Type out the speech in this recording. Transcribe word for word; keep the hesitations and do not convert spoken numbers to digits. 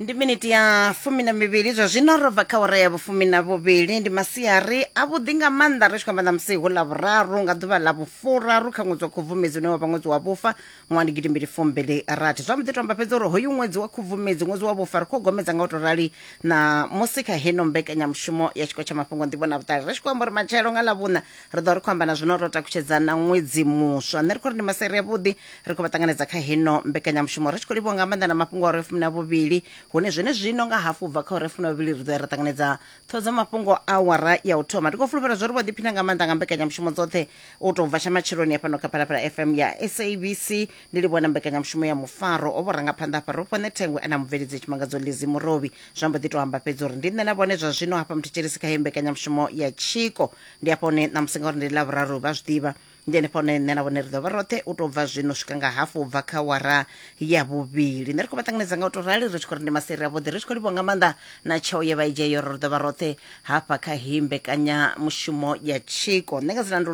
Ndi miniti ya fumi na mivhili zwa zwino ro bva kha wara ya vhufumi na vhuvhili. Ndi masiari avhuḓi nga maanḓa, ri tshi khou amba ṋamusi hu ḽa vhuraru nga ḓuvha ḽa vhufuraru kha ṅwedzi wa Khubvumedzi, une wa vha ṅwedzi wa vhufa ṅwaha ndi gidimbili fumbili rathi. Zwa mbo ḓi to amba fhedzi uri hoyu ṅwedzi wa Khubvumedzi, ṅwedzi wa vhufa, ri khou gomedza nga u to rali na musi kha heno mbekanyamushumo ya tshiko tsha mafhungo, nḓivho na vhuṱali. Ri tshi khou amba uri matshelo nga ḽa vhuṋa ri ḓo ri khou amba na zwino ro takutshedza na ṅwedzi muswa. Nṋe ri khou ri ndi masiari avhuḓi, ri khou vha ṱanganedza kha heno mbekanyamushumo, ri tshi khou livhuwa nga maanḓa na mafhungo a uri fumi na vhuvhili, hune zwene zwino nga hafu bva kha uri fumi na vhuvhili ri ḓo ya ra ṱanganedza ṱhoho dza mafhungo awara ya u thoma. Ndi khou fulufhela zwo ri vho ḓiphina nga maanḓa nga mbekanyamushumo dzoṱhe u tou bva tsha matsheloni hafhano kha Phalaphala F M ya S A B C. Ndi livhuwa na mbekanyamushumo ya mufaro o vho rangaphanḓa hafha ro fhone thengwe ana mubveledzi Tshimangadzo Lizi Murovhi. Zwa mbo ḓi to amba fhedzi uri ndi nṋe na vhone zwa zwino hafha muthetshelesi kha heyi mbekanyamushumo ya tshiko. Ndi hafha hone ṋamusi ngauri ndi ḽavhuraru, vha zwi ḓivha, ndi henefha hone nṋe na vhone ri ḓo vha roṱhe u tou bva zwino swika nga hafu u bva kha wara ya vhuvhili. Nṋe ri khou vha ṱanganedza nga u tou rali, ri tshi khou ri ndi maseri avhuḓi, ri tshi khou livhuwa nga maanḓa na tsheo ye vha i dzhia yo ri ḓo vha roṱhe hafha kha heyi mbekanyamushumo ya tshiko. Nṋe nga dzina ndi